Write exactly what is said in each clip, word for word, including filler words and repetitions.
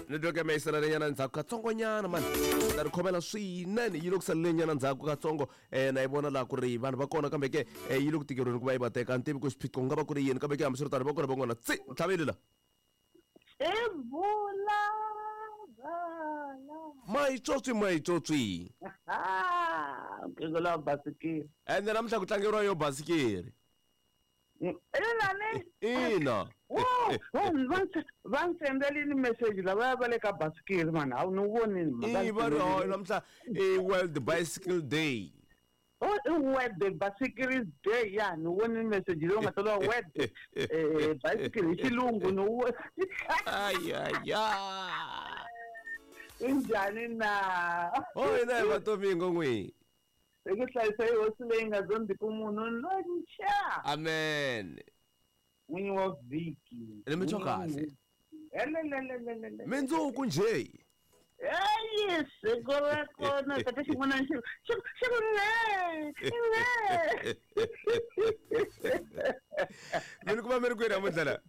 Network ya mehe yi salelenyana ndzhaku katsongonyana mani ta ri khomela swinene yi le ku salelenyana ndzhaku katsongo um na yi vona laha ku ri vanhu va kona kambe ke eh, yi le ku tikeriweni ku va yi va teka a ni tivi ku xiphiqo ku nga va ku ri yini kambe ke hambiswiritano va kona van'wana tsi ntlhaveli la I vula mayitswotswi mayitswotswi nkingo wa basikiri ende namuntlha ku tlangeriwa yo basikiri ina ne ina va ni sendelini message lavaya va le ka basikiri mani a ni vonini i va ri hayi namuntlha i World Bicycle Day. Oh, World Bicycle Day ya ni vonini message leyi nga tsariwa World eh bicycle hi xilungu ni wo ayaya injhani na oh ina hi vatomingo n'wi hi ku hlayisa hi hosi leyi nga zondziki munhu lontsha amen n'winyi wa vhiki ni mi twa kahle elelelelelele mindzuku njhe eyi siku ra kona tata xin'wana xi xi xi ku ne ne mi ni kuma mi ri kwini namuntlha la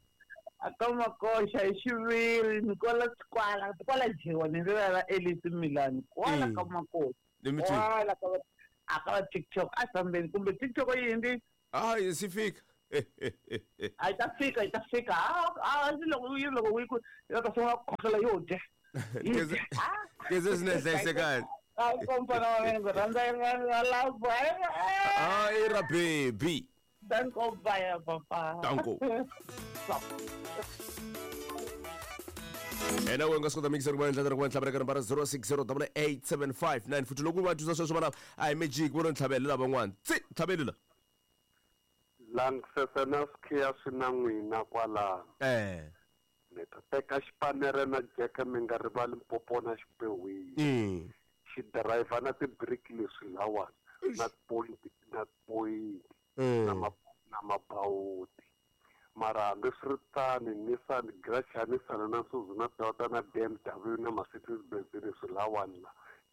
a ka makoxa hi xiviri ni kwala kwala kwala dyiwa ni rivela ra Elisi Milani kwala Mm. ka makoxa ni mi twini kwala ka va- a ka va TikTok a fambeni kumbe TikTok yindi hayi si fika a yi ta fika yi ta fika a a loko yi loko yi ku yi ta sungula ku khohlola yo dya yi Keze- dya. Ah. keze swi ne hlayisekani A kompana wa mina ndzi rhandza ra lava hayi ra baby danko baya papa Danko. ena we nga swi kota mikiseri ku va endla ku va ntlhavela ka nambara zero six zero double eight seven five nine futhi loko va twisa sweswo vana a hi magic vo no ntlhavela lavan'wana tsi ntlhaveli la Langisese na swikhiya swi na n'wina kwalano eh ni ta teka xipanere na jeke mi nga rivali mpopo na xipewini mm xidirayivha na tibiriki leswi lawani na tipoyinti na tipoyinti na mm ma na mabawuti mara hambiswiritano Nissan Gracia Nissan na Suzuki na Toyota na B M W na Mercedes Benz leswi lawani la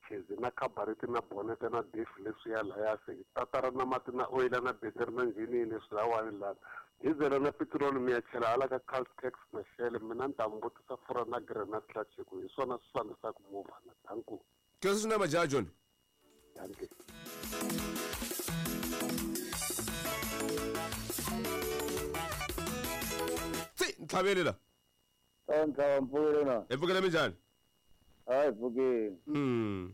Chezi na cabaret na bonnet na diff leswi ya laya se tatara na mati na oyila na battery na njhini leswi lawani lana dizele na petiroli mi ya chela hala ka Caltex na Shell mina ni ta mi vutisa furha na granite clutch hi ku hi swona swi fambisaka movha na danko kese swi na majaha joni danke tsi ntlhaveli la Ntlhava mpfukile na hi pfukele minjhani hayi pfukile mm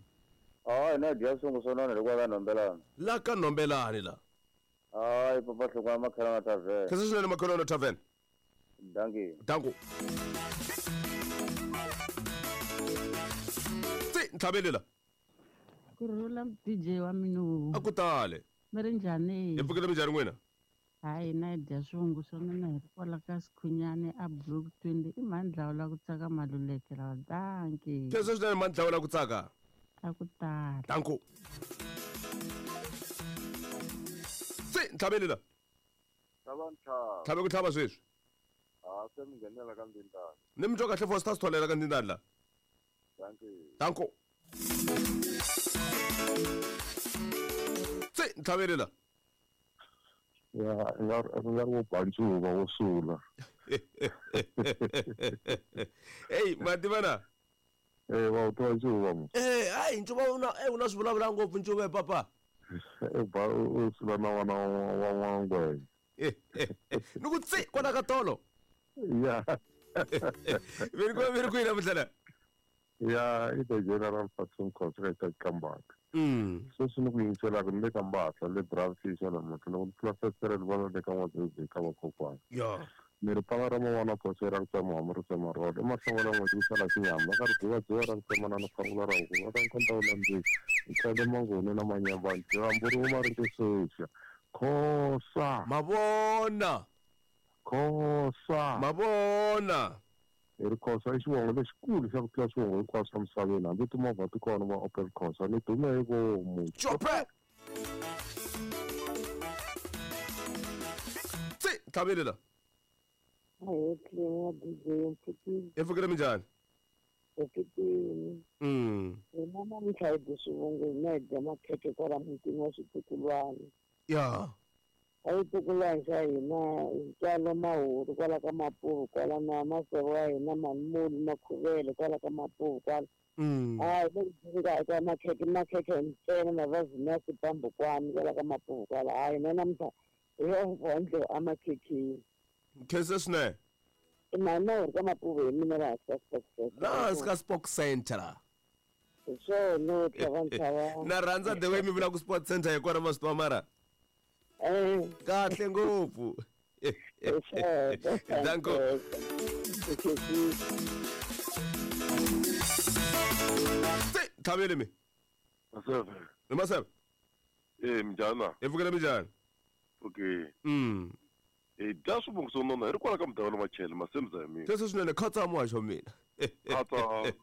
hayi na dya swungu swo nona hikwalaho ka nhombelana la ka nhombelani la hayi papa hlukwana makhelana tavern kese swinene makhelwana tavern danki danko tsi ntlhaveli la ku rhula D J wa mina a ku tale mi ri njhani hi pfukele minjhani n'wina hayi na hi dya swungu swa mina hi ri kwala ka Sikhunyani a Block twenty i mhani dlawula ku tsaka maluleke lawa danki kese swinene mhani dlawula ku tsaka a ku tala danko tsi ntlhaveli la tlhava ntlhava tlhave ku tlhava sweswi ha se mi nghenela ka ndzindani ni mi twa kahle Foster Sitholela ka ndzindani la danki danko tsi ntlhaveli la ya nga nga ri wo ba ncuva wo sula eyi ma tiva na eh wa wu tiva ncuva mo eh hayi ncuva wu na eh wu na swi vulavula ngopfu ncuva papa e ba u sula na n'wana wa n'wangwenya ni ku tsi kwala ka tolo ya mi ri mi ri kwini namuntlha la ya i the general Fatson Contractor Kambaka mm sweswi ni ku yingiselaka ni le ka Mbatla le Bravfisha namuntlha loko ni tlula festere ni vona le ka N'wadzizi ka vakokwana ya ni ri panga ra man'wana khoso ra ku tsema homu ri tsema rholo emahlongolo ya n'hweti ku sala xinyama va ka ri dzivadziva ra ku tsema na nifangula ra huku va ka nkhonta wu landzeki hi tlhele mangoni na manyambani dyambu ri huma ri tisexa khosa mavona khosa mavona hi ri khosa i xivongo lexikulu xa ku tlula swivongo hinkwaswo swa misaveni hambi timovha ti kona va Opel Khosa ni dume hi vomu chope tsi ntlhaveli la Ahee wa D J mpfukile hi pfukile minjhani mpfukile mm hina namuntlha hi dya swivongo hina hi dya makhekhe kwala mutini wa switukulwana ya A yi tukulwana xa hina ntswalo mahuru kwala ka Mapuvu kwala na maseve wa hina Manmulu Makhuvele kwala ka Mapuvu kwala. Hayi le ka makhekhe makhekhe ntsena mavazini ya sipambukwani kwala ka Mapuvu kwala. Hayi na namuntlha hi yo vondlo amakhekheni. Khensa swinene. I mhani ri ka Mapuvu hi mina laha ka Sport Center. Laha ka Sport Center. Hi swona tlhava Na rhandza the way mi vula ku Sport Center hi kona ma swi tiva mara. Eh kahle ngopfu. Danko. Tlhavele mi. Maseve. Ni Maseve. Eh minjhani? Hi pfukile minjhani? Okay. Mm. Eh dya swivongo swo nona hi ri kwala ka mudavelo Machele Masemza hi mina. Sweswo swinene khatsa muhaxo wa mina. Khatsa.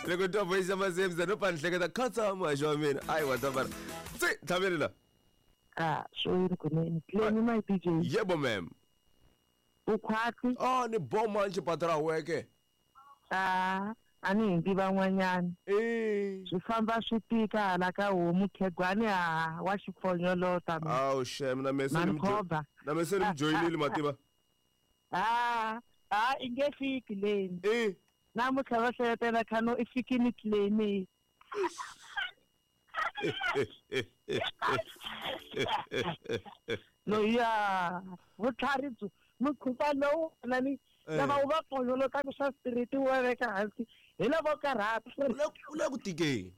Loko twa voice ya Masemza no pa ni hleketa khatsa muhaxo wa mina. Ayi wa tabara. Tsi tlhavele la. Ah, so yini kunene. Clemi my D J. Yebo ma'am. Ukhwati. Ah ni boma nje weke. Ah, a ni hindzi van'wanyana. Eh. Swi famba swi tika hala ka homu khegwani ha wa xipfonyolota. Awu shem na mese ni Mankova. Na mese ni joyinile mativa. Ah, ah i nge fiki leni. Eh. Namuntlha va hleletela khano i fikini Clemi. No ya vutlhari byo mukhuva lowu na ni lava wu va pfonyolotaka swa spirit wu va veka hansi hi lavo karhata. U le ku tikeni.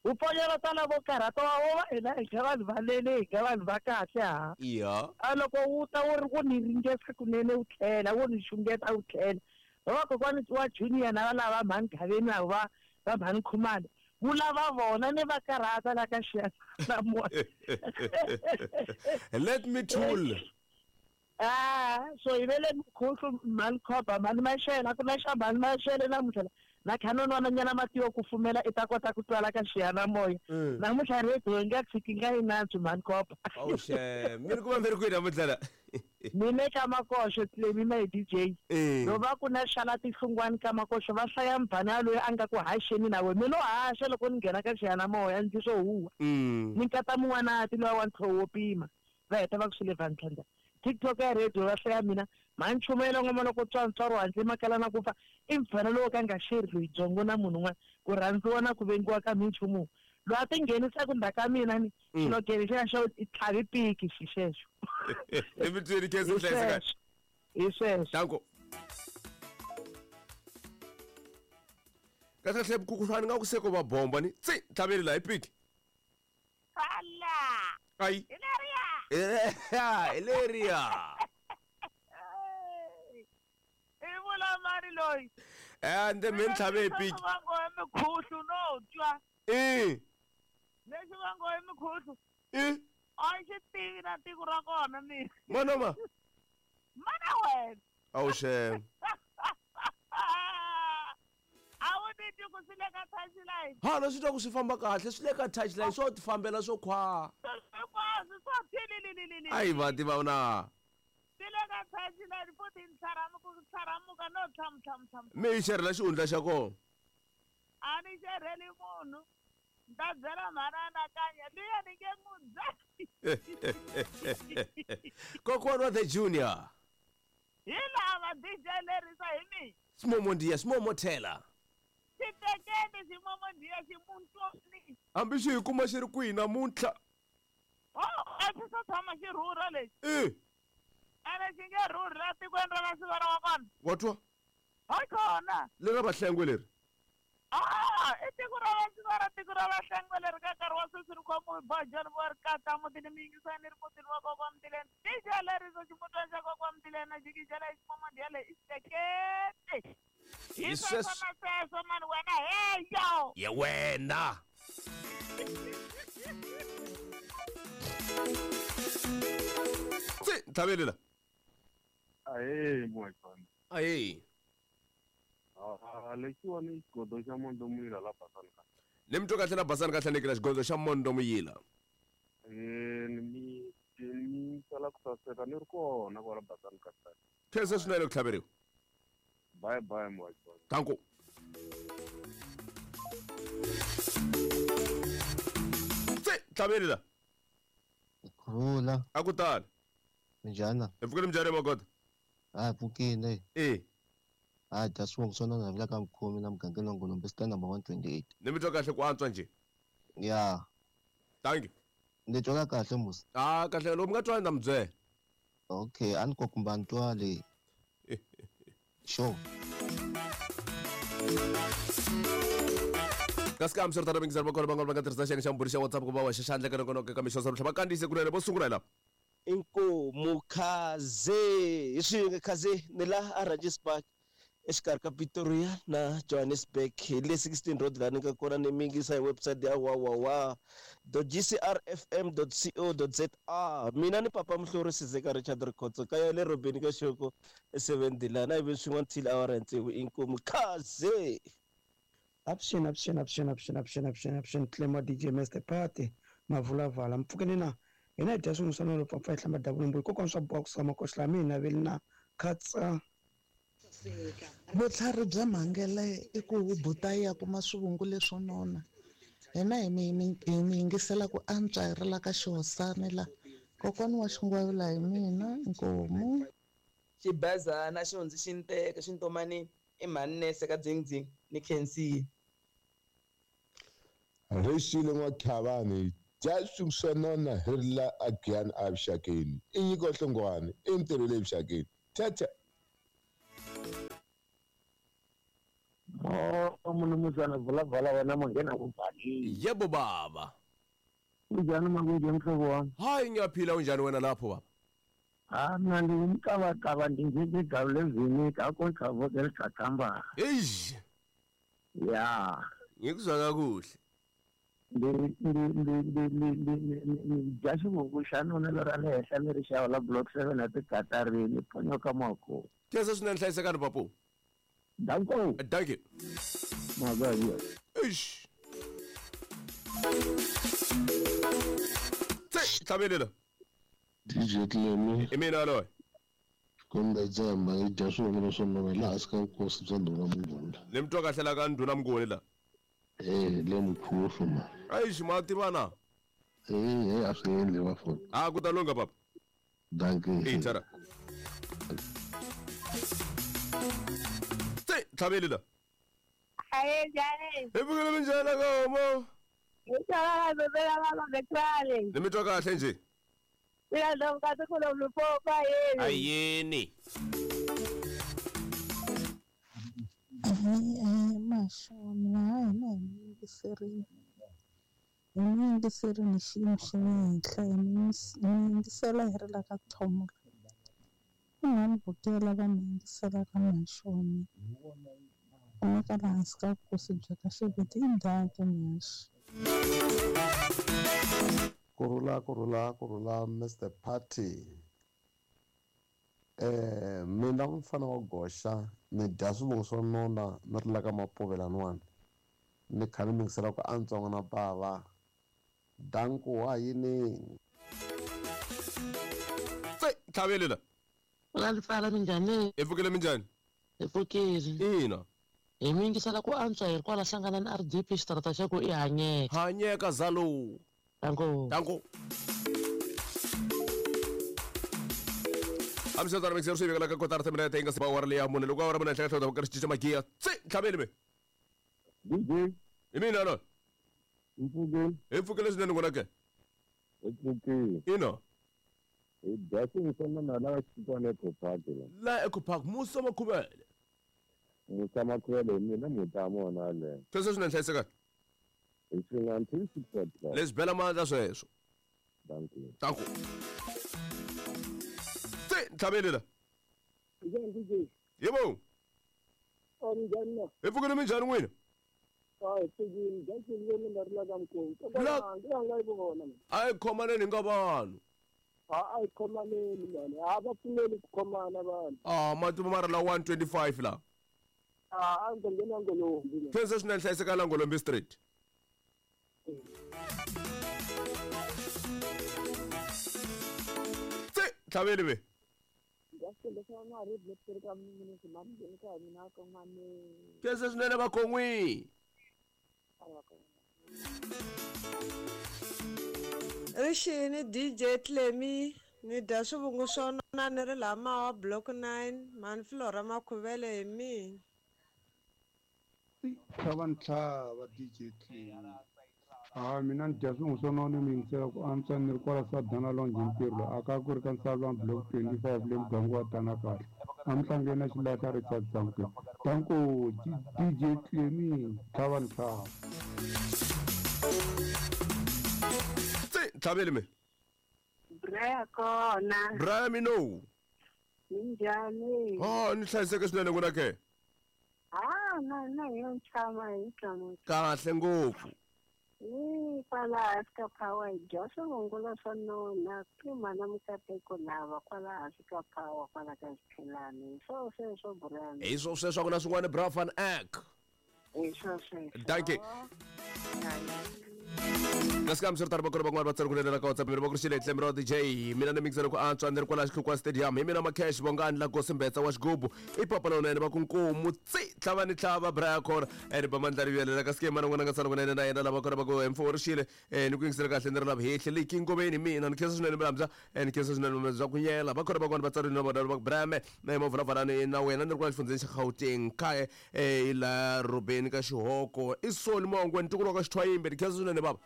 Wu pfonyolota lavo karhata wa wo va hina hi nga vanhu va lele hi nga vanhu va kahle ha. Iya. A loko wu ta wu ri ku ni ringesa kunene wu tlhela wu ni xungeta wu tlhela. Va kokwani wa Junior na lava mhani Gaveni va va mhani Khumalo. Wu lava vona ni va karhata la ka xiyanimoya. Let me tool. Ah, so hi vele mukhuhlu mhani Khoba mhani Maxele a ku na xa mhani Maxele namuntlha na khanonwananyana mati yo kufumela i ta kota ku twala ka xiyanimoya. Namuntlha radio yi nga tshiki nga yi nantswi mhani Khoba. Awu xem, mi ri ku va mi ri kwihi namuntlha la? Ni le ka Makoxo Clemi my D J. No va ku na xala tihlungwani ka Makoxo va hlaya mbhana yaloyi a nga ku haxeni na we. Mi lo haxa loko ni nghena ka xiyanimoya ndzi swo huwa. Ni nkata mun'wanati luwa wa ntlhovo wo pima. Va heta va ku swi le Van TikTok ya radio va hlaya mina mhani chumela ngoma loko tswantswaro handle makala na ku fa i mfana lowo ka nga xeri loyi byongo na munhu un'wana ku rhandziwa na ku vengiwa ka minchumu loyi a ti nghenisaka ndzhaku ka mina ni xilogele xa xo i tlhavi piki xi xexo. Emitweni khensa hlayiseka. Hi sweswo. Danko. Kahle kahle mukhuhlwani nga ku se ko va bomba ni tsi tlhaveli la hi piki. Ala. Ayi. Hilaria. Hilaria. I vula mari loyi. Eh ende mi tlhave hi piki. Vango hi mikhuhlu no twa. Eh. Lexi vango hi mikhuhlu. Eh. A xi tivi na tiko ra kona mina. Mana ma. Mana wena. Awu xem. A wu ni twi ku swi le ka touchline. Ha na swi twa ku swi famba kahle swi le ka touchline swo ti fambela swo khwa. Hinkwaswo swo tililililili. Ayi va tiva na. Swi le ka touchline futhi ntlharamuka ntlharamuka no tlhamu tlhamu tlhamu. Mi yi xerhela xihundla xa kona. A ni xerheli munhu. Ni ta byela mhani anakanya luya ni nge n'wi byeli. Kokwana wa the Junior. Hi lava D J lerisa hi mina. Simomondiya simomotela. Xitekeni ximomondiya ximuntwani. Hambi xi hi kuma xi ri kwihi namuntlha. Oh, a xi se tshama xi rhurha lexi. Eh. Ene xi nge rhurhi la tikweni ra Masivara wa kona. Wa twa? Hayi kona. Leri ra Vahlengwe leri. Ah, i tiko ra Vasivara tiko ra Vahlengwe leri ka nkarhi wa sweswi ri khomiwe bojani vo ri kata mutini mi yingisani ri mutini wa kokwa Mtileni. D J leriso ximutwana xa kokwa Mtileni na jikijela ximomondiya leyi i xitekete. Hi sweswo na sweswo mani wena heyo. Ye wena. Tsi tlhavele la. Ahee muhajani. Ahee. Ah lexiwani xigodo xa Mondo Muyila la Basani ka. Ni mi twa kahle la Basani ka hlanekela xigodo xa Mondo Muyila. Eh ni mi ni sala ku saseka ni ri kona kwala Basani ka. Khensa swinene ku tlhaveriwa. Bye bye muhajani. Danko. Tsi tlhavele la. Kurhula. A ku tani. Minjhani? Hi pfukile minjhani Magoda? Ha pfukile. E. Ha dya swivongo swa nona la ka mukhomi na mugangeni wa Ngolombe stand number one twenty-eight. Ni mi twa kahle ku antswa njhe? Ya. Thank you. Ni twa kahle musa. Ah kahle loko mi nga twani na mi byela. Okay, a ni ko kumba ni twale. Sure. Kasi ka hamswiritano mingiseri va kona van'wana va nga tirhisa xiyenge xa mbhuri xa WhatsApp ku va wa xa xandla ka nongonoko ka mixo swa va kandziyise kunene vo sungula hi lava. Inkomu khaze hi swin'we khaze ni la a Randjes Park exikarhi ka Pretoria na Johannesburg hi le sixteen road laha ni nga kona ni mingisa hi website ya www dot g c r f m dot co dot z a. Mina ni papa Muhlori Sizeka Richard Rikhotso kaya le Robeni ka Xoko seven D la na ivi swin'wana till awara ya tsevu. Inkomu khaze. Option, option, option, option, option, option, option, Clemo D J Mister Party, Mavulavala, mpfukeni na hina hi dya swin'we swa nolo pfapfa hi hlamba dabulumbulu kokwana swa box ka makoxla mina veli na khatsa. Vutlhari bya mhangele i ku buta ya kuma swivungu leswo nona. Hina hi mi hi mi yingisela ku antswa hi ri la ka xihosani la kokwana wa xingwavila hi mina nkomu. Xibazana xi hundzi xi nteka xi ntomani i mhani ka dzingdzing ni khensile. Rixile n'wakhavani dya swin'we swa nona hi ri la a Giyani a vuxakeni i nyiko hlongwane i ntirho le vuxakeni thethe. Oh, munumuzana vulavala wena manghena ku bali. Yebo baba. Unjani makunje mhlobo wami? Hayi ngiyaphila unjani wena lapho baba? Ah mina ndingumqabaqaba ndinjengegawu levinika akontlavoke eliqaqamba. Eish. Ya. Ngikuzwa kakuhle. Ndi ndi ndi ndi ndi ndi dya xivungu xa nona lera le henhla leri xava la block seven a tikatarini ponyoka mako. Khensa swinene hlayisekani papu. Danko. Thank you. Magayi. Eish. Tse hlabelela. D J Clemi. I mina loyi. Kumbe dzemba yi dya swivongo swa nona laha hansi ka vukosi bya ndhuna Mnguni. Ni mi twa kahle la ka ndhuna Mnguni la. Eh, le mkhufu ma. Eish ma tivana. Eh, eh a swi endli va fona. Ah ku ta lungha papa. Dankie. Eh, tara. Tse hlabelela. Aye njani? Hi pfukile minjhani ka homo? Hi tshama bebela baba bekrale. Ni mi twa kahle nje. Mina ndomkati kulo mlupopa yini. Ayini. Masha mina hayi na hi mi yingiserini. Hi mi yingiserini xiyimo xa le henhla hi mi yingisela hi ri la ka Thomolo. I mhani Vukela va mi yingiselaka mhaxo wa mina. Kumeka laha hansi ka vukosi bya ka Xiviti i ndhawu mhaxo. Kurhula kurhula kurhula Mister Party. Eh mina mfana wa goxa ni dya swivongo swa nona ni ri la ka mapovelaniwani ni kha ni mingisela ku antswa n'wana bava danku wa yini. Tse hlabelela. Lalifala minjhani? Hi pfukile minjhani? Hi pfukile. Ina. Hi mi yingisela ku antswa hi ri kwala hlangana na R D P xitarata xa ku i hanyeka. Hanyeka zalo. Danko. Danko. Hamswiritano mingiseri swi vekela ka kotara timinete yi nga si ba awara leyi ya mune loko awara mune henhla ka hlota va karhi cinca magiya. Tse hlabeli me. D J. Hi mina loyi. Hi pfukile. Hi pfukile swinene n'wina ke. Hi pfukile. Ina. Hi dya swin'we swa nona la xitwana Eco Park la. La Eco Park Musa Makhuvele. Musa Makhuvele hi mina mutamu wona yaleyo. Sweswo swinene hlayisekani. Hi swin'we until six o'clock. Leswi bela mandla sweswo. Thank you. Danko. Tse hlabelela. Njhani D J? Yebo. Oh njhani na? Hi pfukile minjhani n'wina? Hayi pfukile dya swivongo ni ri la ka Mkhomi. La nga yi vona. A hi khomaneni hi nga vanhu. A a hi khomaneni mani. A va pfumeli ku khomana vanhu. Ah mati ma ri la one twenty-five la. Ah a ndzi nghena Ngolombi. Khensa swinene hlayiseka la Ngolombi Street. Tse hlabeli be. Khensa swinene vakhon'wi. Rixini D J Clemi ni dya swivungu swo nona ni ri laha Mawa block nine mhani Flora Makhuvele hi mina. Tlhava ntlhava D J Clemi. Ha mina ni dya swivungu swo nona ni yingisela ku antswa ni ri kwala Sadana Lounge ntirho a ka ku ri ka Nsalwa block twenty-five le muganga wa Tana kahle. A mhlangeni na xilahla Richard Samke. Danko D J Clemi tlhava ntlhava. Tlhaveli me. Braya kona. Braya mino. Minjhani? Ah, ni hlayiseke swinene n'wina ke. Ah, na na yo tshama hi tshama. Kahle ngopfu. Ni kwala hansi ka Power hi dya swivungulo swo nona ku mana mikateko lava kwala hansi ka Power kwala ka Xiphelani. Swo sweswo Braya. Hi swo sweswo ku na swin'wana Bra van Eck. Hi swo sweswo. Dankie. Kasi kambe swi ri tano vakulu van'wana va tsari ku lela ka WhatsApp mi ri va ku ri xile Clemi ra D J mina ni mixela ku antswa ni ri kwala Xihlukwa Stadium hi mina Macash Bongani la Kosi Mbetsa wa xigubu i papa lowunene va ku nkomu tsi tlhava ni tlhava Braya Khora ene ba mandla rivelela kasi ke mana n'wana nga tsala kunene na yena lava kona va ku mfuwo ri xile ni ku yingisela kahle ni ri lava hehle leyi kingomeni mina ni khensa swinene milamza ni khensa swinene bya ku nyela va kona van'wana va tsari na vona va ku Braya me na mavulavulani na wena ni ri kwala xifundzheni xa Gauteng kaya eh la Robeni ka Xihoko i Soni Mongwe ntukulu wa ka Xithwayimbe ni khensa swinene baba.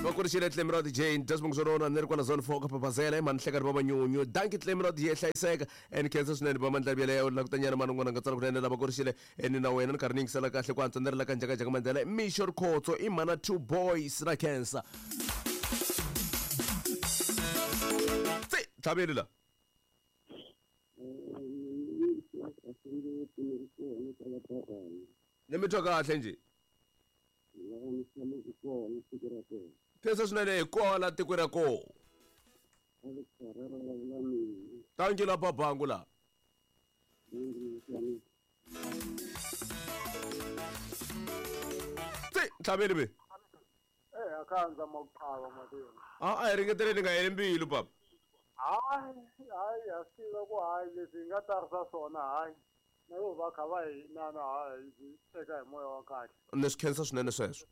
Va ku ri xile Clemi ra D J ni dya swivungu swo nona ni ri kwala zone four ka Papazela i mhani Hlekani va Manyunyu dankie Clemi ra D J hlayiseka ni khensa swinene va mandla yeleyo langutanyana mani n'wana nga tsala kunene lava ku ri xile ni na wena ni karhi ni yingisela kahle ku antswa ni ri la ka Njhakanjhaka Mandela Mixo Rikhotso i mhana two boys na khensa tsi tlhaveli la ni mi twa kahle njhe? Khensa swinene hi kwala tiko ra kona. Thank you la babangu la. Tsi tlhaveli be. Eh akhanza makuqhava matini. Ah a hi ringeteleni nga heli mbilu papa. Hayi hayi a swi tiva ku hayi leswi hi nga tarisa swona hayi. Na yo va kha va hi na na hayi hi teka hi moya wa kahle. Ni swi khensa swinene sweswo.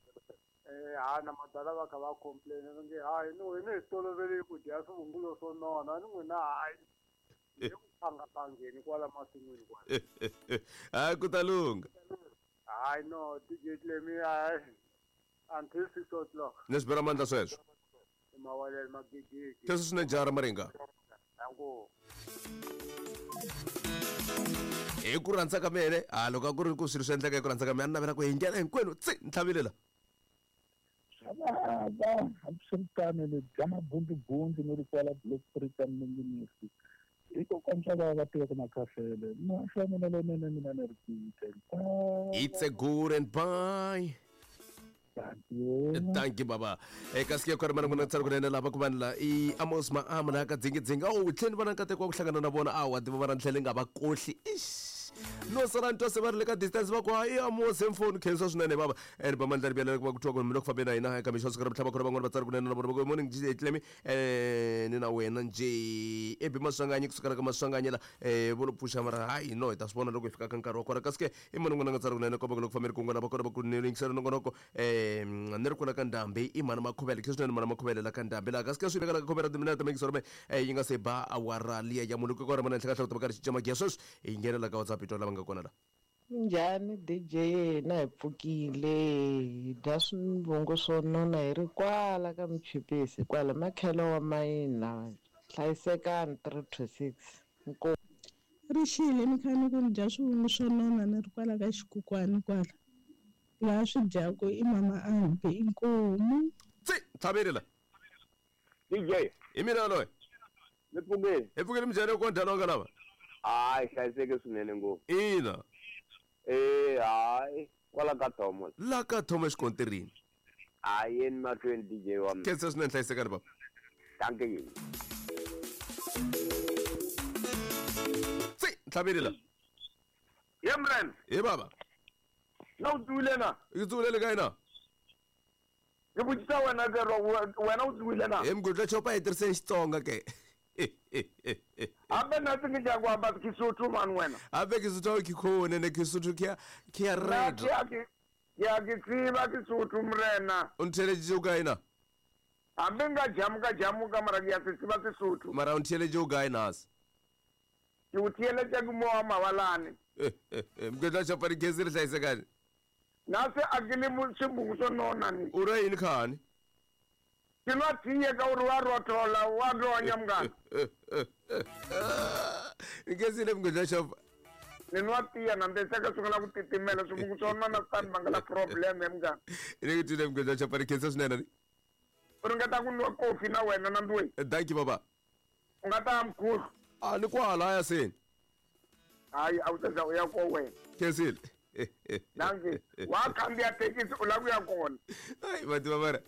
Eh ha na madala va kha va complain va nge hayi ni wena hi tolovele ku dya swivungulo swo nona ni n'wina hayi. Hi ku phangapangeni kwala masin'wini kwala. Hayi ku ta lungha. Hayi no D J Clemi hayi until six o'clock. Ni swi bela mandla sweswo. Mawalele magigigi. Khensa swinene jara Maringa. Danko. Hi ku rhandza ka mina a loko a ku ri ku swilo swi endleka hi ku rhandza ka mina a ni navela ku hi nghena hinkwenu tsi ni tlhavelela. Xava hambiswiritano ni dya mabundubundu ni ri kwala block three ka Minginisi hikokwani va va tivaka makhafele maxa mina lonene mina ni ri kuite. It's a good and bye. Thank you baba. Eh kasi ke khona mana kuna tsala kunene lava ku vanhu la i Amos Maama la ka dzingidzinga oh tlheni vana nkateko wa ku hlangana na vona a wa tiva va ra tlhele nga va kohli ish no sala ntwa se va ri le ka distance va ku i Amos emfoni khensa swinene baba and ba mandla ribela ku va ku twa ku mina ku fambe na hina eka mixo siku ra mhlaba khona van'wana va tsala kunene na vona va ku morning D J Clemi eh ni na wena nje ebi Maswanganyi kusukela ka Maswanganyi la eh vo lo pfuxa mara hayi no hi ta swi vona loko hi fika ka nkarhi wa kona kasi ke i mani n'wana nga tsala kunene komba ku loko fambe ri kun'wana va kona va ku ni yingisela nongonoko eh ni ri kwala ka Ndhambi i mhani Makhuvele khe swinene mhani Makhuvele la ka Ndhambi laha kasi ke swi vekela ka khomera timinete ta mingisoro me yi nga se ba awara liya ya munhu ko ra mana henhla ka hloko ta karhi cinca magiya sweswi hi nghenela ka WhatsApp hi twa lava nga kona la. Minjhani D J na hi pfukile hi dya swivungu swo nona hi ri kwala ka Michipisi kwala makhelo wa mayina hlayisekani three to six nko Rixile ni kha ni ku ni dya swivungu swo nona ni ri kwala ka Xikukwani kwala laha swi dyaku i mama Ambi inkomu. Tsi tlhaveli la D J hi mina loyi ni pfukile hi pfukile minjhani ko njhani nga lava hayi hlayiseke swinene ngopfu ina eh hayi kwala ka Thomo la ka Thomo exikontirini hayi yeni mahlweni D J wa mina khensa swinene hlayisekani baba. Thank you. Tsi tlhaveli la ye mren hi baba na u tsuwile na i tsuwile ka ina ke botsisa wena ke wena u tsuwile na hi mgudla chopa hi tirhiseni Xitsonga ke Hambe na tsingi ja kwamba Kisotho man wena Hambe Kisotho ke khone ne Kisotho ke ke ya red ke Ke a ke tseba Sesotho morena. O ntheeleditše o kae na? Hambi nka jamuka jamuka mara ke a se tseba Sesotho. Mara o ntheeleditše o kae nase? Ke o theeletša ke mo wa mabalane. Moketla Chapane Kesi re hlayisekane. Nase a ke le swivungu swo nona ni. U ra yini khani? Ke nwa tiye ka uri wa rothola wa ronya munghana. Kesi le Moketla Chapa. Ni nwa tiya na ndzi sungula ku titimela swivungu swo nona swi ta ni vangela problem munghana. Ni ku twile Moketla Chapane Kesi swinene. U ringeta ku nwa kofi na wena na ndwe. Thank you baba. U nga ta mkhulu. A ni kwala ya seni. Hayi a wu ta za u ya ko wena. Khensile. Danke. Wa khandziya thekisi u lava ku ya kona. Hayi va tiva mara.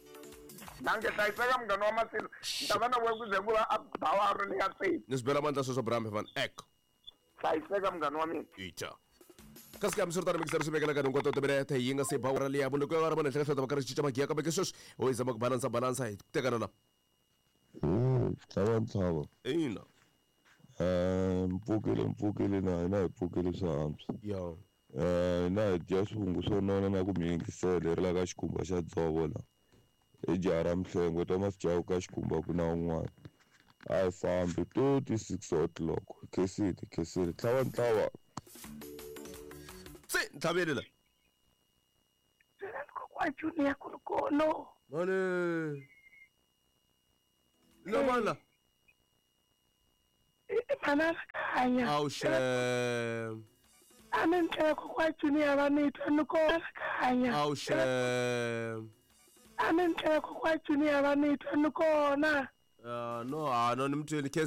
Danke hlayiseka munghana wa Masilo. Ni ta va na wehe ku ze ku va a bawaro leyi ya tsevu. Ni swi bela mandla sweswo Bram van Eck. Hlayiseka munghana wa mina. Ita. Kasi ka hambiswiritano mikisero swi vekela ka hinkwato timinete yi nga se ba awara liya munhu ku ya ri henhla ka hlota va karhi cinca magiya kambe ke sweswi ho yi zama ku balansa balansa hi tekana la. Tlhava ntlhava. Ina. Eh mpfukile mpfukile na hina hi pfukile swa antswa. Ya. Eh hina hi dya swivungu swo nona na ku mi yingisela hi ri la ka xikhumba xa dzovo la. Hi jaha ra Mhlengwe Thomas Jawu ka xikhumba ku na un'wana. A hi fambi twenty six o'clock. Khensile khensile tlhava ntlhava. Se ntlhaveli la. Kokwa Junior ku ri kona. Mane. La mala. Manana kanya. Awu shem. A ni ndlela kokwa Junior va ni twa ni kona kanya. Awu shem. A ni ndlela kokwa Junior va ni twa ni kona. Ah no, ah no ni mtweni.